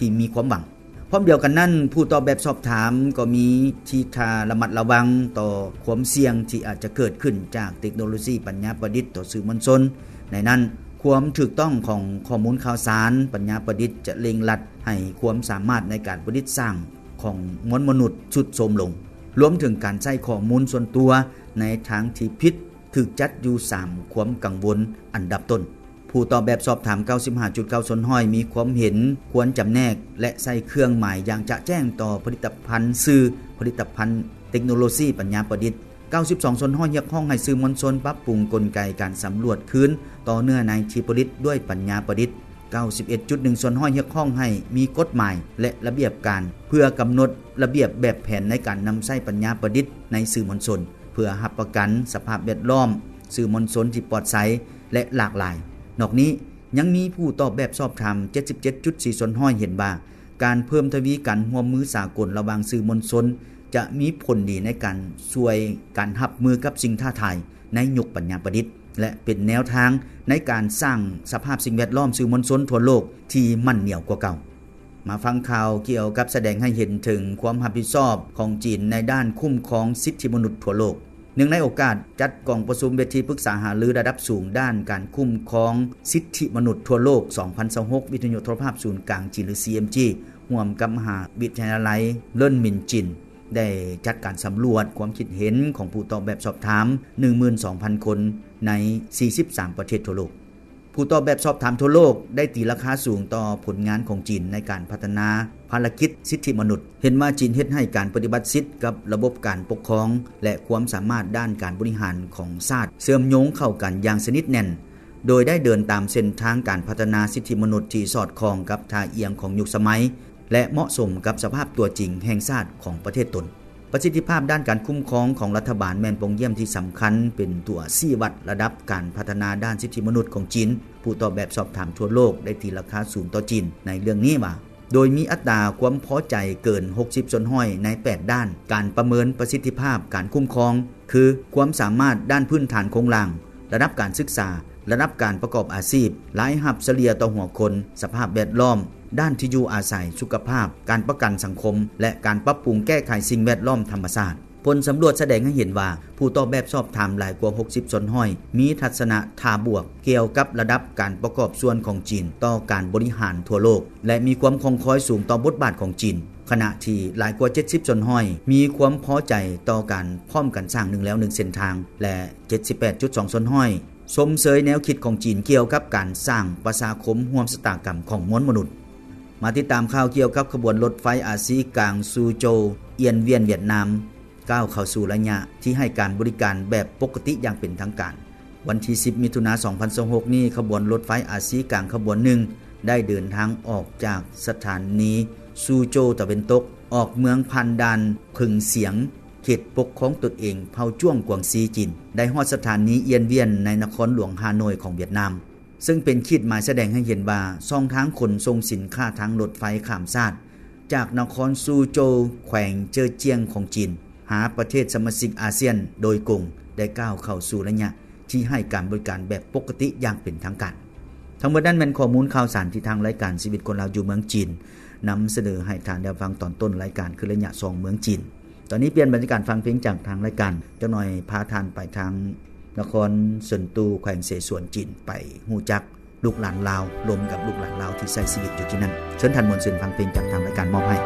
ທີ່ມີຄວາມຫວັງ. ພ້ອມດຽວກັນນັ້ນ, ຜູ້ຕອບແບບສອບຖາມກໍມີທີ່ທ່າລະມັດລະວັງຕໍ່ຄວາມສ່ຽງທີ່ອາດຈະເກີດຂຶ້ນຈາກເຕັກໂນໂລຊີປັນຍາປະດິດຕໍ່ສື່ມວນຊົນ. ໃນນັ້ນ, ຄວາມຖືກຕ້ອງຂອງຂໍ້ມູນຂ່າວສານປັນຍາປະດິດຈະເລັ່ງລັດໃຫ້ຄວາມສາມາດໃນການປະດິດສ້າງຂອງມວນມະນຸດຊຸດໂຊມລົງ, ລວມເຖິງການໃຊ້ຂໍ້ມູນສ່ວນຕົວໃນທາງທີ່ຜິດ ຖືກຈັດຢູ່ສາມຄວາມກັງວົນອັນດັບຕົ້ນ. ຜູ້ຕອບແບບສອບຖາມ ເກົ້າສິບຫ້າຈຸດເກົ້າສ່ວນຮ້ອຍ ມີຄວາມເຫັນຄວນຈຳແນກ ແລະ ໃຊ້ເຄື່ອງໝາຍຢ່າງຈະແຈ້ງຕໍ່ຜະລິດຕະພັນສື່, ຜະລິດຕະພັນເຕັກໂນໂລຊີປັນຍາປະດິດ. ເກົ້າສິບສອງສ່ວນຮ້ອຍ ຮຽກຮ້ອງໃຫ້ສື່ມວນຊົນປັບປຸງກົນໄກການສຳຫຼວດຄືນຕໍ່ເນື້ອໃນທີ່ຜະລິດດ້ວຍປັນຍາປະດິດ. ເກົ້າສິບເອັດຈຸດໜຶ່ງສ່ວນຮ້ອຍ ຮຽກຮ້ອງໃຫ້ມີກົດໝາຍ ແລະ ລະບຽບການ ເພື່ອກຳນົດລະບຽບແບບແຜນໃນການນຳໃຊ້ປັນຍາປະດິດໃນສື່ມວນຊົນ ເພື່ອຮັບປະກັນສະພາບແວດລ້ອມສື່ມວນຊົນທີ່ປອດໃສ ແລະ ຫຼາກຫຼາຍ. ນອກນີ້, ຍັງມີຜູ້ຕອບແບບສອບຖາມ ເຈັດສິບເຈັດຈຸດສີ່ສ່ວນຮ້ອຍ ເຫັນວ່າ ການເພີ່ມທະວີການຮ່ວມມືສາກົນລະຫວ່າງສື່ມວນຊົນ ຈະມີຜົນດີໃນການຊ່ວຍການຮັບມືກັບສິ່ງທ້າທາຍໃນຍຸກປັນຍາປະດິດ ແລະ ເປັນແນວທາງໃນການສ້າງສະພາບສິ່ງແວດລ້ອມສື່ມວນຊົນທົ່ວໂລກທີ່ໝັ້ນໜຽວກວ່າເກົ່າ. ມາຟັງຂ່າວກ່ຽວກັບສະແດງໃຫ້ເຫັນເຖິງຄວາມຮັບຜິດຊອບຂອງຈີນໃນດ້ານຄຸ້ມຄອງສິດທິມະນຸດທົ່ວໂລກ. ເນື່ອງໃນໂອກາດຈັດກອງປະຊຸມເວທີປຶກສາຫາລືລະດັບສູງດ້ານການຄຸ້ມຄອງສິດທິມະນຸດທົ່ວໂລກ ສອງພັນຊາວຫົກ ວິທະຍຸໂທລະພາບສູນກາງຈີນ ຫຼື ຊີເອັມຈີ ຮ່ວມກັບມະຫາວິທະຍາໄລເລີນມິນຈີນ ໄດ້ຈັດການສຳຫຼວດຄວາມຄິດເຫັນຂອງຜູ້ຕອບແບບສອບຖາມ ໜຶ່ງໝື່ນສອງພັນຄົນ ໃນ ສີ່ສິບສາມປະເທດທົ່ວໂລກ. ຜູ້ຕອບແບບສອບຖາມທົ່ວໂລກໄດ້ຕີລາຄາສູງຕໍ່ຜົນງານຂອງຈີນໃນການພັດທະນາພາລະກິດສິດທິມະນຸດ, ເຫັນວ່າຈີນເຮັດໃຫ້ການປະຕິບັດສິດກັບລະບົບການປົກຄອງ ແລະ ຄວາມສາມາດດ້ານການບໍລິຫານຂອງຊາດເຊື່ອມໂຍງເຂົ້າກັນຢ່າງສະໜິດແໜ້ນ, ໂດຍໄດ້ເດີນຕາມເສັ້ນທາງການພັດທະນາສິດທິມະນຸດທີ່ສອດຄ່ອງກັບທ່າອ່ຽງຂອງຍຸກສະໄໝ ແລະ ເໝາະສົມກັບສະພາບຕົວຈິງແຫ່ງຊາດຂອງປະເທດຕົນ. ປະສິດທິພາບດ້ານການຄຸ້ມຄອງຂອງລັດຖະບານແມ່ນປ່ອງຢ້ຽມທີ່ສຳຄັນ ເປັນຕົວຊີ້ວັດລະດັບການພັດທະນາດ້ານສິດທິມະນຸດຂອງຈີນ. ຜູ້ຕອບແບບສອບຖາມທົ່ວໂລກໄດ້ຕີລາຄາສູງຕໍ່ຈີນໃນເລື່ອງນີ້ວ່າ ໂດຍມີອັດຕາຄວາມພໍໃຈເກີນ ຫົກສິບສ່ວນຮ້ອຍ ໃນ ແປດ ດ້ານການປະເມີນປະສິດທິພາບການຄຸ້ມຄອງ ຄື ຄວາມສາມາດດ້ານພື້ນຖານໂຄງລ່າງ, ລະດັບການສຶກສາ, ລະດັບການປະກອບອາຊີບ, ລາຍຮັບສະເລ່ຍຕໍ່ຫົວຄົນ, ສະພາບແວດລ້ອມ, ດ້ານທີ່ຢູ່ອາໄສ, ສຸຂະພາບ, ການປະກັນສັງຄົມ ແລະ ການປັບປຸງແກ້ໄຂສິ່ງແວດລ້ອມທຳມະຊາດ. ຜົນສຳຫຼວດສະແດງໃຫ້ເຫັນວ່າ ຜູ້ຕອບແບບສອບຖາມຫຼາຍກວ່າ ຫົກສິບສ່ວນຮ້ອຍ ມີທັດສະນະທ່າບວກກ່ຽວກັບລະດັບການປະກອບສ່ວນຂອງຈີນຕໍ່ການບໍລິຫານທົ່ວໂລກ ແລະ ມີຄວາມຄ່ອງຄອຍສູງຕໍ່ບົດບາດຂອງຈີນ, ຂະນະທີ່ຫຼາຍກວ່າ ເຈັດສິບສ່ວນຮ້ອຍ ມີຄວາມພໍໃຈຕໍ່ການພ້ອມກັນສ້າງໜຶ່ງແລວໜຶ່ງເສັ້ນທາງ ແລະ ເຈັດສິບແປດຈຸດສອງສ່ວນຮ້ອຍ ຊົມເຊີຍແນວຄິດຂອງຈີນກ່ຽວກັບການສ້າງປະຊາຄົມຮ່ວມຊະຕາກຳຂອງມວນມະນຸດ. ມາຕິດຕາມຂ່າວກ່ຽວກັບຂະບວນລົດໄຟອາຊີກາງ ຊູໂຈວ ອຽນວຽນ ຫວຽດນາມ ກ້າວເຂົ້າສູ່ໄລຍະທີ່ໃຫ້ການບໍລິການແບບປົກກະຕິຢ່າງເປັນທາງການ. ວັນທີສິບ ມິຖຸນາ ສອງພັນຊາວຫົກນີ້, ຂະບວນລົດໄຟອາຊີກາງຂະບວນໜຶ່ງ ໄດ້ເດີນທາງອອກຈາກສະຖານີຊູໂຈວຕາເວັນຕົກ, ອອກເມືອງຜ່ານດ່ານເຜິງສຽງ, ເຂດປົກຄອງຕົນເອງເຜົ່າຈ້ວງກວາງຊີ ຈີນ, ໄດ້ຮອດສະຖານີອຽນວຽນ ໃນນະຄອນຫຼວງຮ່າໂນ້ຍຂອງຫວຽດນາມ, ເຊິ່ງເປັນຂີດໝາຍສະແດງໃຫ້ເຫັນວ່າ ຊ່ອງທາງຂົນສົ່ງສິນຄ້າທາງລົດໄຟຂ້າມຊາດ ຈາກນະຄອນຊູໂຈວ ແຂວງເຈີຈຽງຂອງຈີນ ຫາປະເທດສະມາຊິກອາຊຽນໂດຍກົງ ໄດ້ກ້າວເຂົ້າສູ່ໄລຍະທີ່ໃຫ້ການບໍລິການແບບປົກກະຕິຢ່າງເປັນທາງການ. ທັງໝົດນັ້ນແມ່ນຂໍ້ມູນຂ່າວສານທີ່ທາງລາຍການຊີວິດຄົນລາວຢູ່ເມືອງຈີນ ນຳສະເໜີໃຫ້ທ່ານໄດ້ຟັງຕອນຕົ້ນລາຍການ ຄືໄລຍະສອງເມືອງຈີນ. ຕອນນີ້ປ່ຽນບັນຍາກາດຟັງເພງຈາກທາງລາຍການ, ຈັກໜ່ອຍພາທ່ານໄປທາງນະຄອນເຊິນຕູ ແຂວງເສສວນຈີນ ໄປຮູ້ຈັກ ລູກຫຼານລາວ, ລົມກັບລູກຫຼານລາວທີ່ໃຊ້ຊີວິດຢູ່ທີ່ນັ້ນ. ເຊີນທ່ານມ່ວນຊື່ນຟັງເພງຈາກທາງລາຍການມອບໃຫ້.